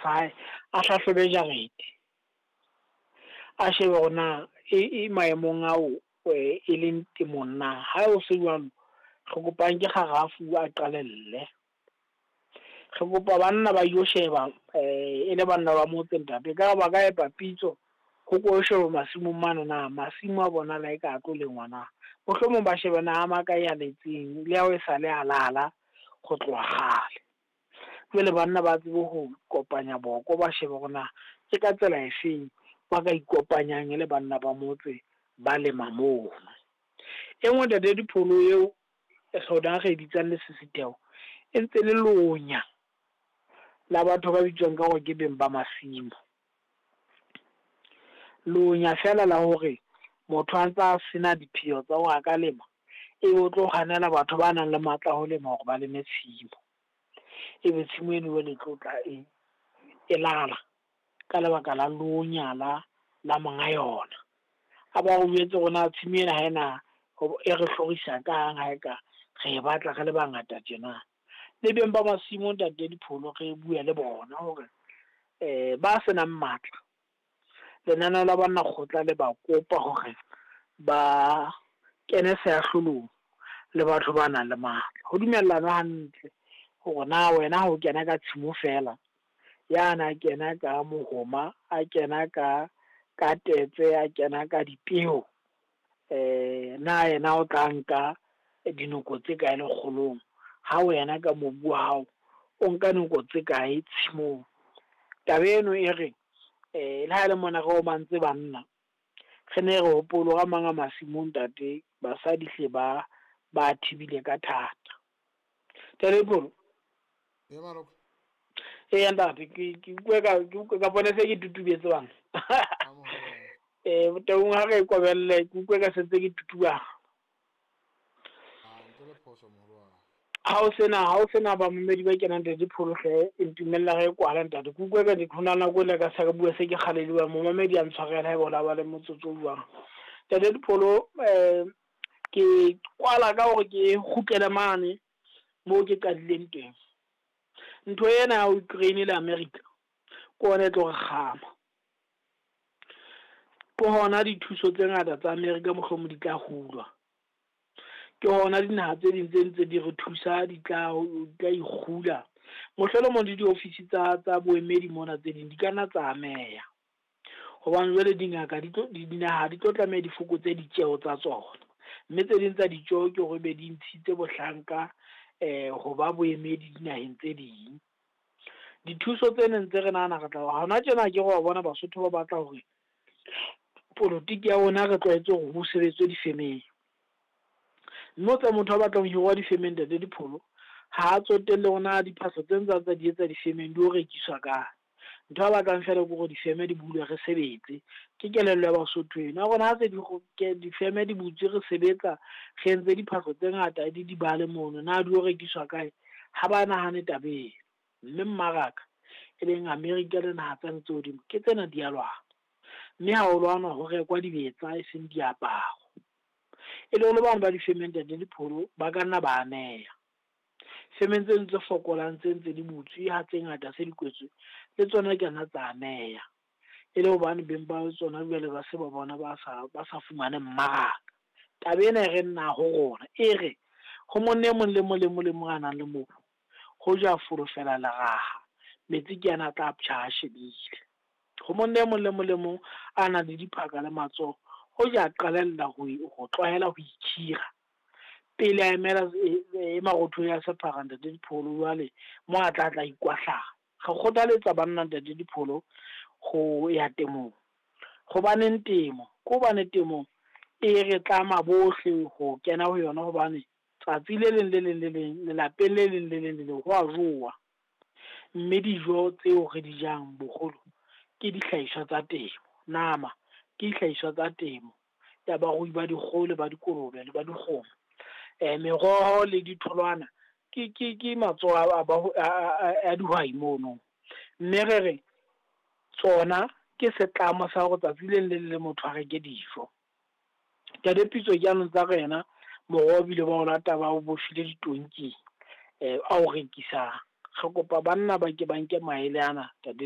sa hae, a hlahlobe jarete. A shebe hore na e maemong ao e leng temong na. Ha o se jwalo, re kopang ke kgarafu a qalelle. Re kopa banna ba ilo sheba e le banna ba motse ntate, ekare ba ka epa pitso ho ko sheba masimong mane na masimo a bona la e ka tlo lengwa na. Mohlomong ba shebe na a makae a letseng le ao e sale a lala ho tloha kgale. Jwale banna ba tsebe ho kopanya boko, ba shebe hore na ke ka tsela efeng ba ka ikopanyang le banna ba motse ba lema mono. E nngwe ntate Dipholo eo rona re e bitsang lesisitheho, e ntse le lonya la batho ba bitswang ka hore ke beng ba masimo. Lonya feela la hore motho a ntsa sena dipheo tsa hore a ka lema, ebe o tlo hanela batho ba nang le matla a ho lema hore ba leme tshimo. Ebe tshimo eno jwale e tlo tla e lala ka lebaka la lonya la monga yona. A ba o jwetse hore na tshimo ena ha ena e re hlorisa kang ha eka re e batla re le bangata tjena. Le beng ba masimo ntate Dipholo re bue le bona hore ba senang matla, lenaneo la banna kgotla le ba kopa hore ba kene seahlolong le batho ba nang le matla. Ho dumellanwe hantle hore na wena ha o kena ka tshimo feela, yana a kena ka mohoma, a kena ka tetse, a kena ka dipeo, na yena o tla nka dinoko tse kae lekgolong, ha wena ka mobu wa hao o nka noko tse kae tshimong. Taba eno e re le ha ele mona re omantse banna, re ne re hopole hore a mang a masimo ntate, basadi hle ba thibile ka thata. Ntate Dipholo. Eya ntate, ke utlwe ka bona se ke tutubetse bana. Taung ha re kobelle, ke utlwe ka sentse ke tutubala. Ha o sena bamamedi ba kenang ntate Dipholo hle, e ntumella re kwala ntate. Ke utlwe ka hona nako ele ka se re bua se ke kgaleliwa, momamedi a ntshwarela haeba o la ba le motsotso o jwang. Ntate Dipholo, ke kwala ka hore ke kgutlele mane moo ke qadileng teng. Ntho ena ya Ukraine le America ke ona e tlo re kgama. Ke hona dithuso tse ngata tsa America mohlomong di tla hulwa. Ke hona dinaha tse ding tse ntse di re thusa di tla ikgula. Mohlolomong le diofisi tsa boemedi mona tse ding di ka nna tsa ameha. Hobane jwale dingaka dinaha di tlo tlameha di fokotse ditjeho tsa tsona. Mme tse ding tsa ditjeho ke hore be di ntshitse bohlanka ho ba boemedi dinaheng tse ding. Dithuso tse neng tse re nahana re tla hona tjena ke re wa bona Basotho ba batla hore politiki ya rona re tlwaetse hore ho sebetswe difemeng. Mme o tsa motho a batlang ho hirwa difemeng ntate Dipholo, ha a tsotelle hore na diphahlo tse ntse tsa di etsa difemeng di o rekiswa kae. Ntho a batlang feela ke hore difeme di bulwe re sebetse. Ke kelello ya Basotho eno. Ya rona ha se difeme di butswe re sebetsa, re entse diphahlo tse ngata di bale mono, na di o rekiswa kae? Ha ba nahane taba eno. Mme mmaraka e leng America le naha tsane tse hodimo ke tsena di a lwana. Mme ha o lwanwa ho rekwa dibetsa e seng diaparo. E le hore bana ba difemeng ntate Dipholo ba ka nna ba ameha. Femeng tse ntse fokolang tse ntse di butswe ha tse ngata se di kwetswe, le tsona ke nna tsa ameha. E le hobane beng ba tsona jwale ba se ba bona ba sa fumane mmaraka. Taba ena e re nna ho rona, e re ho monna e mong le mong le mong le mong a nang le mobu, ho ja folofela leraha, metsi ke ana a tla ptjha a shebile. Ho monna e mong le mong le mong a nang le diphaka le matsoho, ho ja qalella ho tlwaela ho ikhira pele a emela e marothodi a sephara ntate Dipholo jwale mo a tla ikwahlaya. Re kgothaletsa banna ntate Dipholo ho ya temong. Hobaneng temo? Ke hobane temo e re tlama bohle ho kena ho yona, hobane tsatsi le leng le leng le leng lelapeng le leng le leng le leng ho a jowa. Mme dijo tseo re di jang boholo ke dihlahiswa tsa temo. Nama ke dihlahiswa tsa temo ya barui ba dikgoho le ba dikolobe le ba dikgomo. Meroho le ditholwana ke matsoho a dihwai mono. Mme re re tsona ke setlamo sa hore tsatsi le leng le motho a reke dijo. Ntate Pitso ke anong tsa rena moroho bile ba o lata ba o bofile ditonking a o rekisang. Re kopa banna ba ke ba nke maele ana ntate.